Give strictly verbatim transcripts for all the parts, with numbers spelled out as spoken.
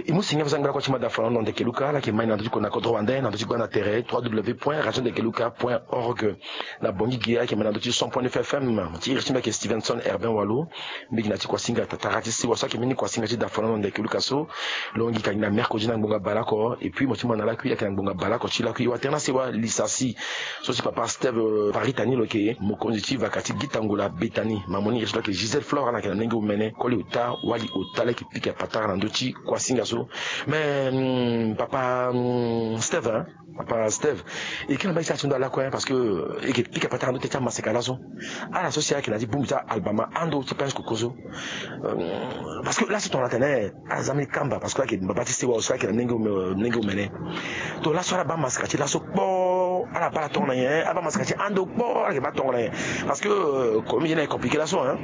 E mu singa fo sangba lakue ti mada fana na ndeke luka ala yeke mai na ndö ti kona kodro wande na ndö ti gbanda tere trois w point radio ndeke luka point org. Na bongi ge ala yeke mai na ndö ti cent point neuf F M ti iri ti mbi ayeke Stevenson Herbin Walo. Mbi gi na ti kuasinga tatara ti sewa so ayeke mbeni kuasinga ti da fana na ndeke luka so. Lo yeke gi na mercredi na ngbonga baleoko. Et puis mo ti ma na lakui ayeke na ngbonga baleoko ti lakui watere na sewa lisasi so ti papa Steve Paritani lo yeke mokonzi ti vaka ti Gitangola Betani. Mamoni iri ti lo ayeke Gisèle Flore ala yeke na lenge omene koli ota wali ota la yeke pika patara na ndö ti kuasinga so. Mais papa Steve, papa Steve, e kiri na mbage ti ala ti ndo ala kue parce que e yeke pika patara na ndö ti amaseka laso. Ala so si ayeke na ti bongbi ti albama ando ti pince koko so. Parce que laso tongana tene ala za mbeni kamba parce que ayeke baba ti sewa aussi ayeke na lenge omene. To laso ala baa maseka ti laso kpo ala baa ala tongana nyen? Ala baa maseka ti ando kpo ala yeke baa tongana nyen? Parce que comme ye na e compliqué laso hein.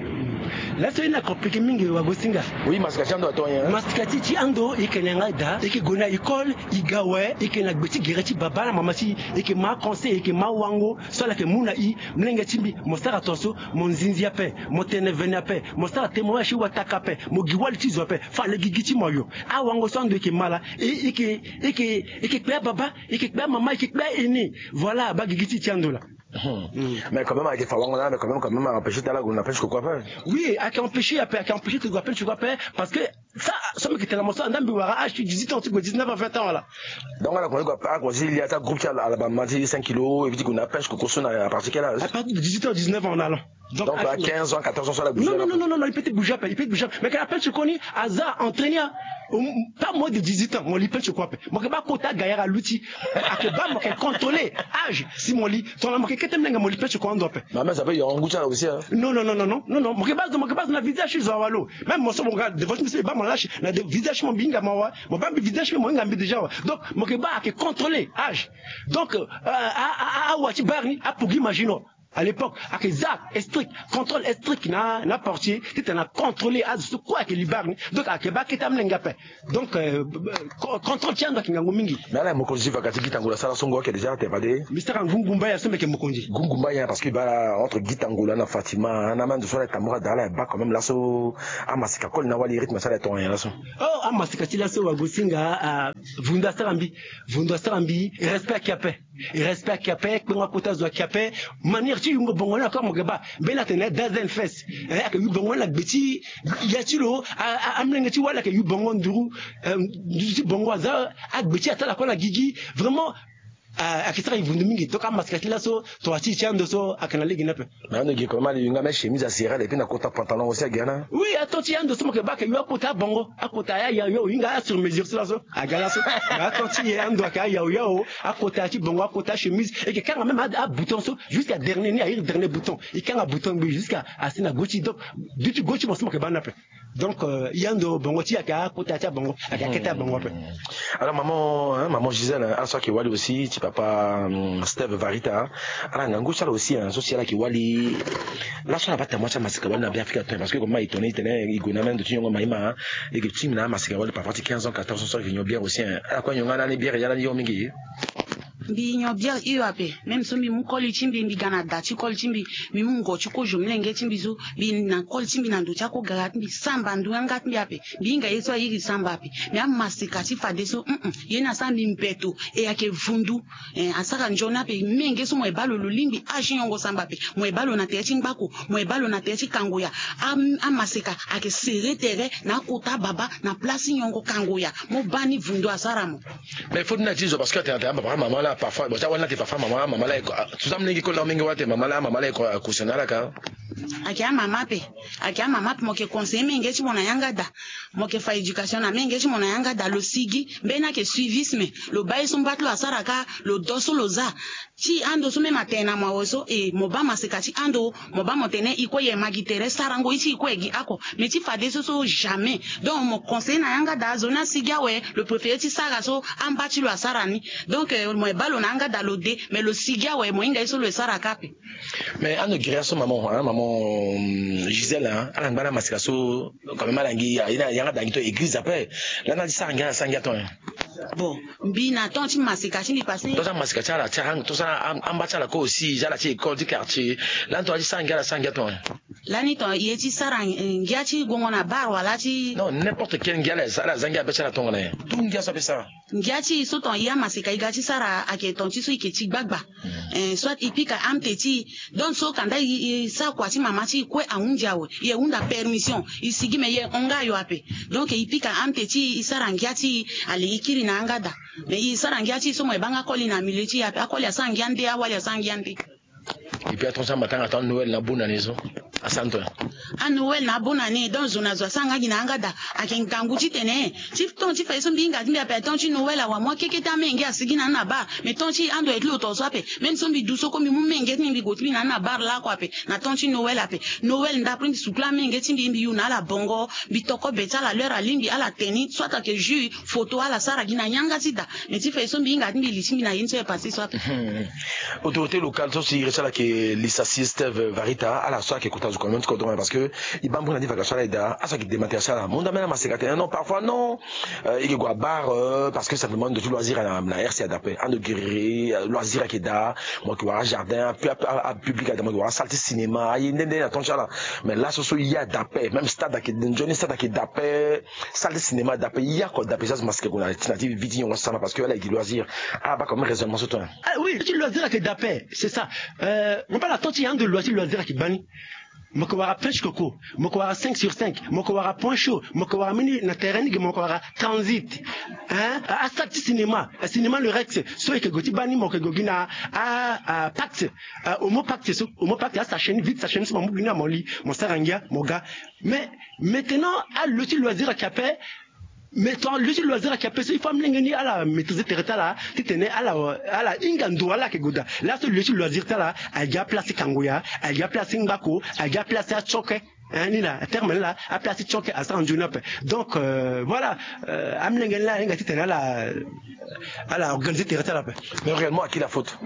Laso ye na compliqué mingi wagosinga. Oui, maseka ti ando ato nyen? Maseka ti ti ando e yeke na yanga daa e yeke gue na école e ga awe e yeke na gbe ti gere ti baba na mama ti e yeke ma conseil e yeke ma wango. So ala yeke mu na i, mlenge ti mbi, mo sara tongaso, mo nzinzi ape, mo tene vene ape, mo sara témoignage ti wataka ape, mo gi wali ti zo ape. Fade gigi ti mo ayo. Awango so ando e yeke ma laa e yeke e yeke e yeke kpe ababa, e yeke kpe amama, e yeke kpe aene. Voilà abaa gigi ti e ti ando laa. Mais quand même ayeke fa wango na mais quand même quand même a empêché ti ala gue na pêche koko ape. Oui, ayeke empêché ape, ayeke empêché ti gue na pêche koko ape. Parce que ça so mbi yeke tene na mo so andaa mbi wara âge ti dix-huit ans ti gue dix-neuf ans vingt ans wala. Donc ala koma ti gue ala koma ti lia ti agroupe ti ala bama ti cinq kilos et puis ti gue na apêche koko so na à partir quel âge? À partir de dix-huit ans dix-neuf ans on allant. Donc à quinze ans quatorze ans so ala bouger non non non non non il peut te bouger ape il peut te bouger ape mais ke apêche koko ni aza entraîner. Pas moins de dix-huit ans mo li pêche koko ape. Mo yeke baa kota gaillard aluti. Ayeke baa mo yeke contrôler âge si mo li. Tongana mo yeke kete mlenge mo li pêche koko ando ape. Mais amen ça peut yongo ngu ti ala aussi hein. Non non non non non non mo yeke baa zo mo yeke baa zo na visage ti zo awa lo. Même mo so mo ga devant ti mbi so e baa mo lâche na visage ti mo mbi hinga mo awa. Mo baa mbi visage ti mbi mo hinga mbi déjà awa. Donc mo yeke baa ayeke contrôler âge. Donc awa ti bar ni apogi imagine. À l'époque ayeke za strict, contrôle strict na na portier titene acontrôler azo so kue ayeke li bar ni. Donc ayeke baa akete amolenge ape. Donc contrôle ti ando ayeke ngangu mingi. Mais ala mokonzi ti vaka ti Gitangola asara so ngu ayeke déjà atene fade. Mbi sara ngu ngumba ya so mbi yeke mokonzi. Ngu ngumba ya parce que baa entre Gitangola na Fatima na mando so ala tambula daa ala baa quand même laso. Amaseka koli na wali rythme so ala tongana nyen laso? Oh amaseka ti laso wagosinga. Vundu asara mbi. Vundu asara mbi. Respect ayeke ape. Respect ayeke ape kpengo akota zo ayeke ape. Manière ti yungo bongo ni encore mo yeke baa mbeni atene dazen fes. Ayeke yu bongo ni na gbe ti ya ti lo. Amolenge ti wali ayeke yu bongo nduru. Nduru ti bongo aza agbe ti atala kue na gigi. Vraiment ayeke sara e vundu mingi donc amasika ti laso. Tongana ti e ti ando so ayeke na lege ni ape. Mais ando gi koma ali yunga même chemise asirale epui na kota pantalon aussi agi ana. Oui ato ti e ando so mo yeke baa ayeke yu akota abongo akota ya ya yo hinga asur mesure so laso. Aga laso. Mais ato ti e ando ayeke ayaoyao. Akota ya ti bongo akota chemise e yeke kanga même abouton so jusqu'à dernier ni airi dernier bouton. E kanga bouton ngbi jusqu'à asi na go ti donc du ti go ti mo so mo yeke baa ni ape. Donc e ando bongo ti e ayeke akota ya ti abongo ayeke akete abongo ape. Alors maman hein, maman Gisèle hein, ala so ayeke wali aussi ti papa hum, Steve Varita. Ala ngangu ti ala aussi hein, so si ala yeke wali. Laso ala baa tambola ti amasika wali na Beafrika to parce que koma e tongana e tene e gue na mendo ti nyongo maïma hein. E yeke ti mbi na amasika wali parfois ti quinze ans quatorze ans so ayeke nyon bière aussi hein. Ala kue nyon nga lani bière ya lani yo mingi. Mbi nyon bière hio ape. Même so mbi mu koli ti mbi mbi ga na da ti koli ti mbi. Mbi mu ngo ti kozo mlenge ti mbi so mbi na koli ti mbi na ndo ti akogara ti mbi samba ndu yanga ti mbi ape. Mbi hinga ye so airi samba ape. Mbi amasika ti fadeso hum ye ni asara mbi mbeto. E ayeke vundu. Asara nzoni ape menge so mo ye baa lo lo lingbi age ti nyongo samba ape. Mo ye baa lo na tere ti ngbako. Mo ye baa lo na tere ti kangoya. Amasika ayeke sere tere na akota baba na place ti nyongo kangoya. Mo baa ni vundu asara mo. Mais faut ni na ti zo parce que atene atene ababa amama la parfois bon ti awali ni atene parfois amama amama la. Tout ça mlenge koli na mingi wala atene mama la amama la eko akusana ala ka. Ayeke amama ape. Ayeke amama ape mo yeke conseiller menge ti mo na yanga da. Mo yeke fa éducation na menge ti mo na yanga da lo sigi mbeni ayeke suivisme. Lo baa ye so mba ti lo asara ka. Lo do so lo za. Ti ando so même atene na mo awe so e mo baa maseka ti ando. Mo baa mo tene e kue ye ma gi tere sarango ye ti e kue ye gi ako. Mais ti fadeso so jamais. Donc mo conseiller na yanga da azo ni asigi awe. Lo préféré ti sara so amba ti lo asara ni. Donc mo ye baa lo na yanga da lo de. Mais lo sigi awe mo hinga ye so lo ye sara ka ape. Mais ando giri ya so maman hein, maman Gisèle hein, ala ngba na maseka so. Quand même ala ngi yanga da ngi to église ape. Lani ala ti sara ngi ala sara ngi ato hein. Bon mbi na temps ti maseka ti mbi passé. To sara maseka ti ala ti ala to sara amba ti ala ko aussi ti ala ti école ti quartier. Lani to ala ti sara ngi ala sara ngi ato hein. Lani ton e ye ti sara ngia ti gongo na bar wala ti. Non, n'importe quel ngia ala za ngia abe ti ala tongana nyen? Tout ngia so abe sara. Ngia ti e so ton e amaseka e ga ti sara ayeke ton ti so e yeke ti gbagba. Soit e pika amte ti e. Donc so kanda e sara kua ti mama ti e kue ahunzi awe, e hunda permission, e sigi me e hon nga ayo ape. Donc e pika amte ti e, e sara ngia ti e, ale e kiri na yanga daa. Mais e sara ngia ti e so mo e baa nga akoli na milieu ti e ape, akoli asara ngia nde, awali asara ngia nde. Et puis atonso amatanga ton Noël na bonne année so asanto. A Noël na bonne année, donc zo na zo asara nga gi na yanga daa. Ayeke ngangu titene ti ton ti fa ye so mbi hinga ti mbi ape, ton ti Noël awa, moi keke ti amenge asigi na ni na bar. Mais ton ti ando e ti lo tongana so ape. Même so mbi du so kue mbi mu menge ti mbi, mbi gue ti mbi na ni na bar lako ape. Na ton ti Noël ape. Noël ndapre mbi sukula amenge ti mbi, mbi yu na ala bongo, mbi toko be ti ala l'heure alingbi, ala teni, soit ayeke jus, photo, ala sara gi na yanga ti daa. Mais ti fa ye so mbi hinga ti mbi li ti mbi na ye ni so e passé so ape. Autorité locale so si e reti ala ayeke Lissassi Steve Varita, ala so ayeke kota zo communauté kodro, parce que e baa mbeni na ni vacation ala e daa, ala so ayeke démentir ti ala. Mo hunda ambeni amaseka atene non, parfois non, e yeke gue abar parce que simplement ando ti loisir na R C A dapet, ando guerrier, loisir ayeke daa, mo yeke wara jardin, apublic ayeke daa, mo yeke wara salle ti cinéma, aye nde nde na ton ti ala. Mais laso so e ye adapet, même stade ayeke, nzoni stade ayeke dapet, salle ti cinéma dapet, e ye oko dapet, so azo maseka gue na ti na ti vie ti nyongo asara parce que ala yeke loisir. Abaa comme raisonnement so ton. Ah oui, ti loisir ayeke dapet, c'est ça. Mo baa na ton ti e ando loisir, loisir ayeke baa ni. Mo yeke wara pêche coco, mo yeke wara cinq sur cinq, mo yeke wara point chaud, mo yeke wara mbeni na terrain ni ge, mo yeke wara transit. Hein? Asalle ti cinéma, cinéma le Rex, so e yeke gue ti baa ni, mo yeke gue gi na a, a Pact, Homo Pact so, Homo Pact, asachet ni, vide sachet ni so mo mu gi ni na mo li, mo sara ngia, mo ga. Mais maintenant alo ti loisir ayeke ape. Mais ton lo ti loisir ayeke ape so, il faut amolenge ni ala maîtriser tere ti ala titene ala, ala hinga ndo ala yeke gue daa. Laso lo ti loisir ti ala ayeke gi aplace ti kango ya, ayeke gi aplace ti ngbako, ayeke gi aplace ti atioke. Hein, ni na terme ni laa, aplace ti tioke asara nzoni ape. Donc voilà, amolenge ni laa ahinga titene ala, ala organiser tere ti ala ape. Mais réellement, à qui la faute?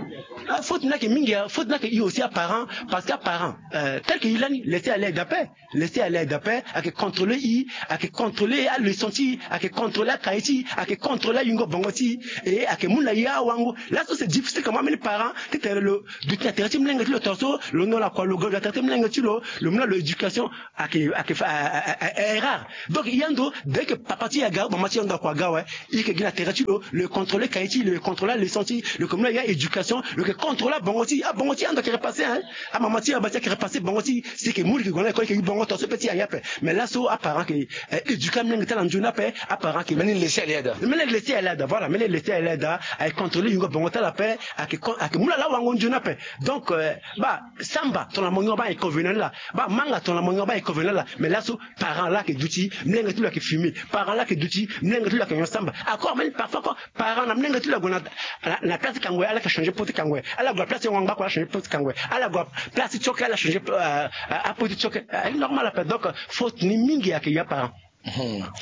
Faute ni ayeke mingi, faute ni ayeke e aussi, aparent, parce que aparent, tel que e lani, laisser aller dapet. Laisser aller dapet, ayeke contrôler e, ayeke contrôler aleçon ti e, ayeke contrôler akaye ti e, ayeke contrôler ayingo bongo ti e, e ayeke mu na e awango. Laso c'est difficile quand même, ambeni parent titene lo duti na tere ti molenge ti lo tongaso, lo nola kua, lo ga lo na tere ti molenge ti lo, lo mu na lo éducation. Ayeke, ayeke fa, a, a, a, a, erreur. Donc e ando, dès que papa ti e aga, mama ti e ando akua aga awe, e yeke gi na tere ti lo, lo yeke contrôler kaye ti e, lo yeke contrôler aleçon ti e, lo yeke mu na e a-éducation, lo yeke contrôler abongo ti e, abongo ti e ando ayeke repasser, hein. Amama ti e, ababa ti e ayeke repasser bongo ti e, si e yeke mu, e yeke gue na école, e yeke gi bongo tongaso, pe ti e aye ape. Mais laso aparent ayeke éduquer amolenge ti ala nzoni ape, aparent ayeke. Mbeni laisser aller daa. Mbeni laisser aller daa, voilà, mbeni laisser aller daa, ayeke contrôler yingo bongo ti ala ape, ayeke, ayeke mu na ala awango nzoni ape. Donc, euh, baa samba, tongana mo nyon baa inconvénient ni laa. Baa manga, tongana mo nyon baa inconvénient ni laa. Mais laso parent laa ayeke duti, molenge ti lo ayeke fumer. Parent laa ayeke duti, molenge ti lo ayeke nyon samba. Encore même parfois, quand parent na molenge ti lo ague na, na, na place ti kango ya, ala yeke changer pot ti kango ya. Ala gue na place ti ngbako, ala changer pot ti kango ya. Ala gue na place ti tioke, ala changer, euh, euh, apot ti tioke. Euh, normal ape. Donc, euh, faute ni mingi ayeke ya parent.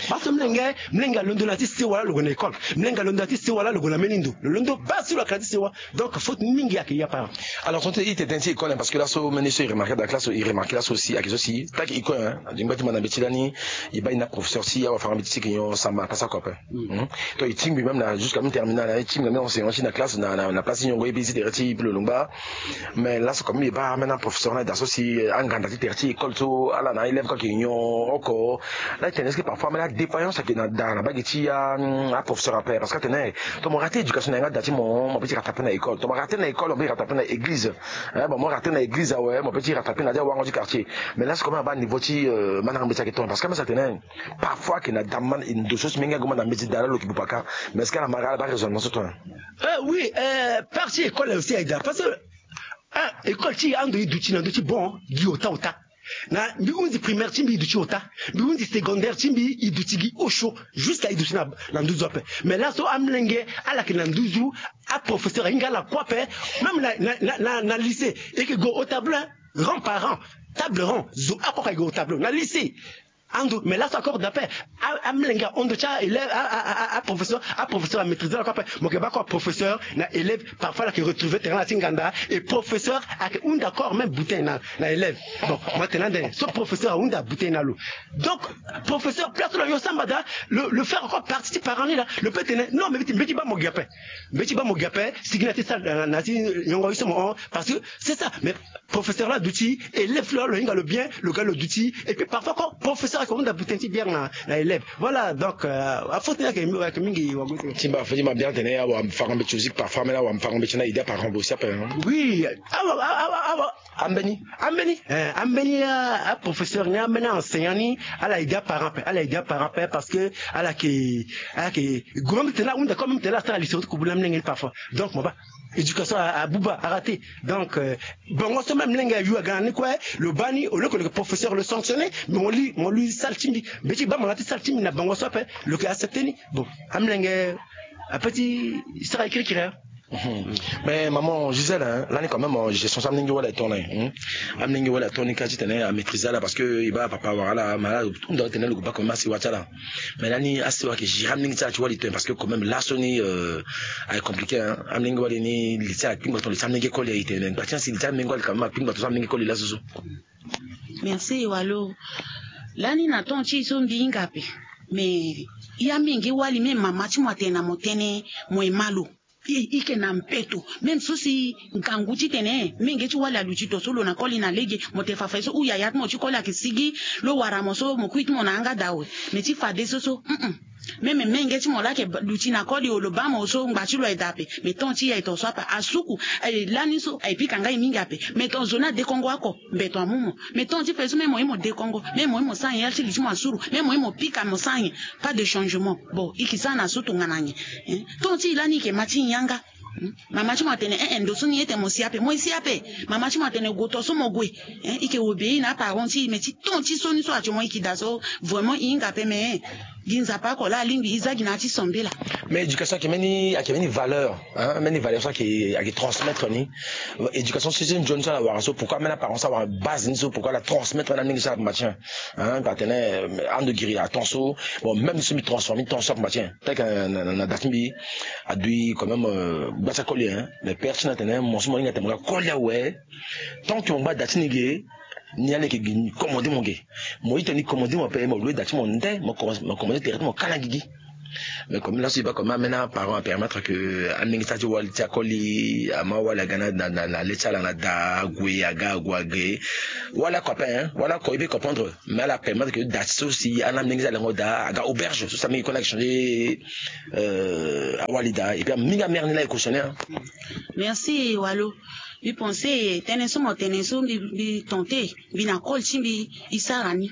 Parce que molenge, molenge alondo na ti sewa laa lo gue na école. Molenge alondo na ti sewa laa lo gue na mbeni ndo. Lo londo baa si lo yeke na ti sewa. Donc faute mingi ayeke ya parent. Alors, tonton, e tene ti école, hein, parce que laso mbeni so e remarquer daa, classe, e remarquer laso aussi, ayeke so si, tant que école, hein, e ngba ti manda mbeti lani, e baa e na professeur ti e, awa, fara mbeti ti e yeke nyon samba na place oko ape. Hmm. Donc e tingbi même na jusqu'à même terminale, hein, e tingbi même enseignant ti e na classe, na, na, na place ti nyongo, e bi ti tere ti e, e bi lo longba. Mais laso quand même e baa même na professeur na e daa so si, eh, anganda ti tere ti école so, ala na élève kue ayeke nyon oko. Laa e tene est-ce que parfois même la défaillance ayeke na daa na mbage ti a, a professeur ape, parce que atene, eh, tongana mo rater éducation na yanga daa ti mo, mo peut ti rattraper na école. Tongana mo rater na école, mo peut ti rattraper na église. Eh, bon, mo rater na église awe, mo peut ti rattraper na ya ti awango ti quartier. Mais laso quand même abaa niveau ti, euh, mandango mbeti ayeke tongana, parce que même so atene, parfois ayeke na daa, ndo so si menge ague manda mbeti daa laa lo yeke buba kâ. Mais est-ce que ala mara ala baa raisonnement so tongana? Euh, oui, euh, partie école aussi aye daa, parce que, ah, école ti e ando e duti na ndö ti bon gi ota ota. Na mbi hunzi primaire ti mbi e duti ota. Mbi hunzi secondaire ti mbi e duti gi osio. Jusqu'à e duti na, na nduzu ape. Mais laso amolenge ala yeke na nduzu, aprofesseur ahinga ala kue ape. Même na, na, na, na, na lycée, e yeke gue au tableau, hein. Rang par rang, table rang, zo oko oko aye gue au tableau na lycée. Ando, mais laso encore d'après, a, amolenge ahon ndo ti a élève, a, a, a, a, aprofesseur, aprofesseur amaîtriser ala kue ape. Mo yeke baa kue professeur na élève, parfois ala yeke retrouver terrain na ti nganda, et professeur ayeke hunda encore même bouteille na, na élève. Bon, mo tene ande, so professeur ahunda bouteille na lo. Donc, professeur, place ti lo ayeke samba daa, lo, lo faire encore partie ti parent ni laa, lo peut tene, non, mais mbeti, mbeti baa mo gi ape. Mbeti baa mo gi ape, sigi na ti salle, na, na ti nyongo ye so mo hon, parce que c'est ça, mais professeur la duti, élève la lo hinga lo bien, lo ga lo duti. Et puis parfois quand professeur ayeke hunda buten ti bière na na élève. Voilà, donc euh, afaute ni ayeke ayeke mingi wago ti. Ti mba fo ti ma bière tene awa fara mbeti aussi parfois mena awa fara mbeti na idée apara aussi ape. Oui. Awa awa awa. Ambeni. Ambeni eh, ambeni. Aprofesseur ni ambeni, aenseignant ni, ala aidé aparent ape, ala aidé aparent ape parce que ala yeke ala yeke gue même tene ahunda comme même tene asara lycée ti kubu na mlenge ni parfois. Donc mo baa éducation abuba arate. Donc euh, bango so même mlenge ayu aga na ni kue, lo baa ni au lieu que lo yeke professeur lo sanctionné, mais mo li mo li sale ti mbi. Mbi ti baa mo na ti sale ti mbi na bango so ape, lo yeke accepté ni. Bon, amlenge ape ti sara kirikiri. Mais maman Gisèle, hein, lani quand même gestion so amlenge wala eton na amlenge wala eton ni ka ti tene amaîtrise ala parce que e baa papa wara ala ma ala hunda tene lo gue baa quand même asi wa ti ala. Mais lani asi wa ayeke gérer amlenge ti ala ti wali tene parce que quand même laso ni euh, aye compliqué hein. Amlenge wali ni li ti ala akpingba ton li ti amlenge koli aye tene mais ngba ti asi li ti amlenge wali quand même akpingba ton so amlenge koli laso so. Merci walo. Lani na temps ti e so mbi hinga ape. Mais ya menge wali même mama ti mo atene na mo tënë mo ye ma lo. E, e yeke na mpeto. Même so si ngangu titene menge ti wali aluti to so lo na koli na lege, mo te fa fa ye so ou yaya ti mo ti koli ayeke sigi lo wara mo so mo kui ti mo na yanga daa awe. Mais ti fade so so, mm-mm. Même menge ti mo laa ayeke luti na koli o lo baa mo so ngba ti lo aye daa ape. Mais temps ti e aye ton so ape asuku. Aye lani so aye pika nga e mingi ape. Mais ton zo ni adekongo oko, mbeto amu mo. Mais temps ti fa ye so même mo ye mo dekongo, même mo ye mo sara nyen ya ti li ti mo asuru, même mo ye mo pika mo sara nyen. Pas de changement. Bon, e yeke sara na so tongana nyen? Temps ti e lani e yeke ma ti yanga. Mama ti mo atene eh eh ndo so ni ye tene mo si ape, mo ye si ape. Mama ti mo atene gue to so mo gue. Eh, e yeke obéir na aparent ti e, mais ti temps ti so ni so ati mo e yeke daa so, vraiment e hinga ape mais eh, gi Nzapa oko laa alingbi e za gi na ya ti sambela. Mais éducation ayeke mbeni ayeke mbeni valeur hein, mbeni valeur so ayeke ayeke transmettre ni. Éducation so ti nzoni so ala wara so pourquoi mbeni aparent so awara base ni so pourquoi ala transmettre na ndenge so ala matin hein, atene ando giri aton so. Bon, même so mbi transforme temps so ape matin. Tel que na na na da ti mbi adui quand même euh, gba ti akoli hein. Mais père ti na tene mo so mo hinga tene mo ga koli awe. Tant que mo ngba da ti ni ge, ni ala yeke gi ni commandé mo ge. Mo ita ni commandé mo ape mo loue da ti mo nde mo commandé tere ti mo kala gigi. Mais comme laso e baa comme amena parent apermettre que amenge ti ala ti wali ti akoli ama wali aga na na na le ti ala na da ague aga ague age. Wala oko ape hein, wala oko e pe comprendre. Mais ala permettre que da ti so si ana mlenge ti ala lengo daa aga auberge so si amenge kue na ayeke changer euh, awali daa et puis mingi amere ni la e cautionner hein. Merci walo. Mbi pense tënë so mo tene so mbi mbi tente mbi na koli ti mbi e sara ni.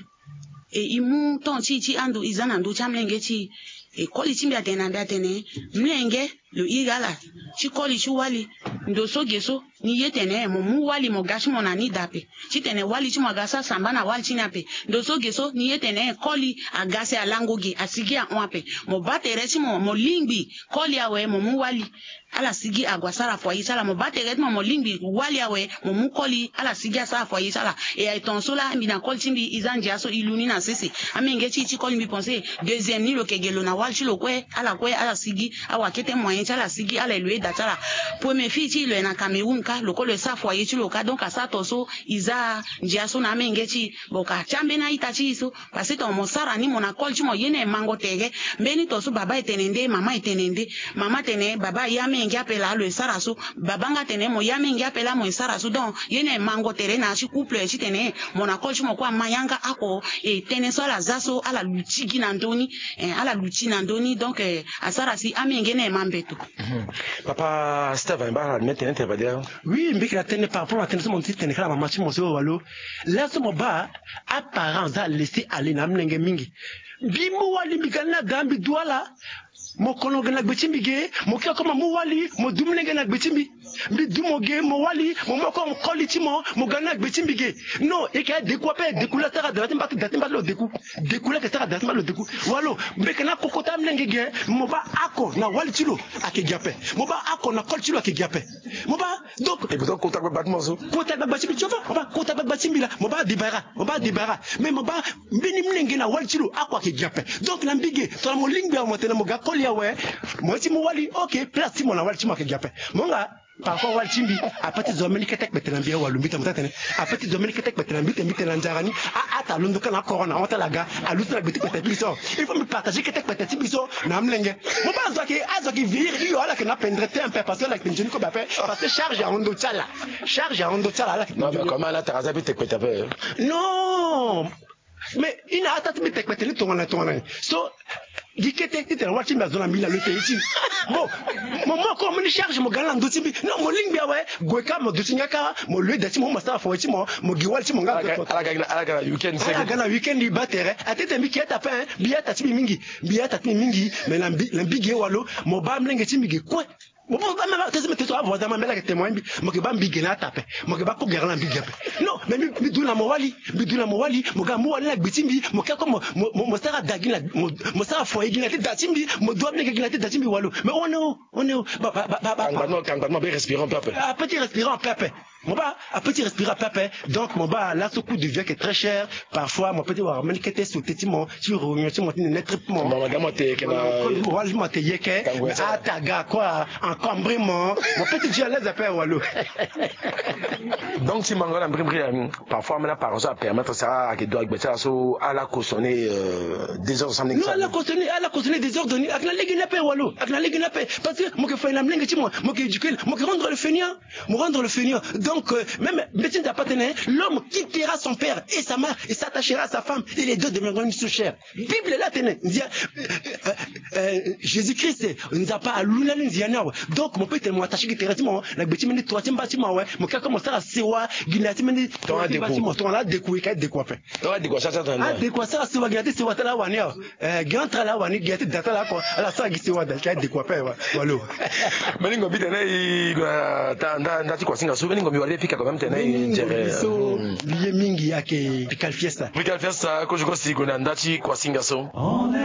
E e mu temps ti e ti ando e za na ndö ti amlenge ti e. E koli ti mbi atene na mbi atene mlenge lo iri ala ti koli ti wali. Ndo so ge so ni ye tene mo mu wali mo ga ti mo na ni daa ape. Titene wali ti mo aga sara samba na wali ti ni ape. Ndo so ge so ni ye tene koli aga si alango ge asigi ahon ape. Mo baa tere ti mo mo lingbi koli awe mo mu wali ala sigi ague asara foyer ti ala. Mo baa tere ti mo mo lingbi wali awe mo mu koli ala sigi asara foyer ti ala. E aye tongaso laa mbi na koli ti mbi e za ndia so e lu ni na sese. Amenge ti e ti koli mbi pense deuxième ni lo yeke ge lo na wali ti lo kue ala kue ala sigi. Awakete moyen ti ala sigi ala ye lo ye da ti ala. Premier fille ti e lo ye na Cameroun kâ lo kue lo ye sara foyer ti lo kâ donc asara tongaso e za ndia so na amenge ti e. Bon ka ti ambeni a-ita ti e so. Parce que tonga mo sara ni mo na koli ti mo ye ni aye mango tere. Mbeni tongaso baba e tene nde mama e tene nde. Mama tene baba aye amenge ape laa lo ye sara so. Baba nga tene mo ye amenge ape laa mo ye sara so. Donc ye ni aye mango tere na ya ti couple titene mo na koli ti mo kue ama yanga oko. E tënë so ala za so ala luti gi na ndö ni. Eh, ala luti na ndö ni donc eh, asara si amenge ni aye ma mbeto. Papa Steve, mbi baa ala mbi tene tene badia. Oui, mbi yeke na tënë par rapport na tënë so mo ti tene kâ na mama ti mo so walo. Laso mo baa aparent aza laisser aller na amolenge mingi. Mbi mu wali mbi ga ni na da mbi du ala. Mo kono ge na gbe ti mbi ge. Mo kiri oko mo mu wali mo du molenge na gbe ti mbi. Mbi du mo ge mo wali mo mu oko koli ti mo mo ga ni na gbe ti mbi ge. Non, e yeke adeku ape, deku la sara da ti mba ti da ti mba ti lo deku. Deku la yeke sara da ti mba ti lo deku. Walo mbi yeke na koko ti amolenge ge. Mo baa oko na wali ti lo ayeke gi ape. Mo baa oko na koli ti lo ayeke gi ape. Mo baa donc. E beton kota gbagba ti mo so. Kota gbagba ti mbi ti ova. Mo baa kota gbagba ti mbi laa mo baa debara. Mo baa debara. Mais mo baa mbeni molenge na wali ti lo oko ayeke gi ape. Donc na mbi ge tongana mo lingbi awe mo tene mo ga koli awe. Mo ye ti mu wali ok place ti mo na wali ti mo ayeke gi ape. Mo nga. Parfois wali ti mbi ape ti zo ambeni kete kpete na mbi, awalu mbi tene mo taa tene. Ape ti zo ambeni kete kpete na mbi tene, mbi tene na nzara ni. A, ata alondo kâ na corona, ahon ti ala aga aluti na gbe ti kpete ti mbi so. Il faut mbi partager kete kpete ti mbi so na amolenge. Mo baa azo ayeke, azo ayeke vieillir hio, ala yeke na pendere te un peu, parce que ala yeke nzoni kobe ape. Parce que charge ahon ndo ti ala. Charge ahon ndo ti ala, ala yeke nzoni. Non, mais comment ala tara aza ape ti kpete ape? Non. Mais i na ata ti mbi te kpete ni tongana tongana ni. So gi kete ti tene wali ti mbi azo na mbi na lo te ye ti. Bon, mo moko mo ni charge mo ga ni na ndo ti mbi. Non, mo lingbi awe. Gue kâ mo duti nga kâ, mo loe da ti mo, mo sara foye ti mo, mo gi wali ti mo nga. Ala ga na weekend. Ala ga na weekend, i baa tere. Atete mbi ke ata ape, hein. Mbi ata ti mbi mingi. Mbi ata ti mbi mingi. Mais na mbi, na mbi ge walo, mo baa mlenge ti mbi ge kue. Mo baa mlenge ti mbi, te so avoisin ma mbela ke témoin mbi. Mo ke baa mbi ge na ata ape. Mo ke baa ko gere na mbi ge ape. Non, mais mbi, mbi du na mo wali. Mbi du na mo wali. Mo ga mo wali na gbe ti mbi. Mo ke ko mo, mo, mo, mo sara da gi na, mo, mo sara foye gi na te da ti mbi. Mo du amlenge gi na te da ti mbi walo. Mais on est où? On est où? Ba, ba, ba, ba, ba. Kangba ti mo, kangba ti mo, be respirer un peu ape. Ape ti respirer un peu ape. Mo baa, ape ti respirer ape ape. Donc mo baa laso coût de vie ayeke très cher. Parfois mo peut ti wara mbeni kete sauté ti mo ti réunion ti mo ti nene trip mo. Mo ma ga mo te yeke na. Mo wali mo te yeke. Ata ga quoi, encombrement. Mo peut ti du à l'aise ape walo. Donc ti mango na mbrimbri, euh, parfois ambeni apparence so apermettre so ayeke do agbe ti ala so ala cautionner, euh, désordre so ambeni. Non, ala cautionner, ala cautionner désordre ni. Ayeke na lege ni ape walo. Ayeke na lege ni ape. Parce que mo yeke fa na mlenge ti mo, mo yeke éduquer, mo yeke rendre le fainéant. Mo rendre le fainéant. Donc, euh, même mbeti Nzapa atene, l'homme quittera son père et sa mère et s'attachera à sa femme et les deux deviendront une seule chair. Bible la atene, Nzia, euh, euh, euh, Jésus-Christ, Nzapa aluna ni nzia ni awe. Donc mo peut tene mo attaché gi tere ti mo na gbe ti mbeni tua ti mba ti mo awe. Mo ke ko mo sara sewa gi na ya ti mbeni tua ti mba ti mo. Tongana adékua, ka adékua ape. Tongana adékua sara, sara tongana adékua sara sewa gi na ya ti sewa ti ala awani awe. Eh, gi entre ala awani, gi na ya ti da ti ala oko, ala sara gi sewa da ti adékua ape wa. Walo. Mbeni ngombi tene i gue na ta nda, nda ti kuasinga so, mbeni ngombi wali pika quand même tene i nzere. Mbeni ngombi so, hmm, mbi ye mingi ayeke Pical Fiesta. Pical Fiesta, kozo kosi i gue na nda ti kuasinga so.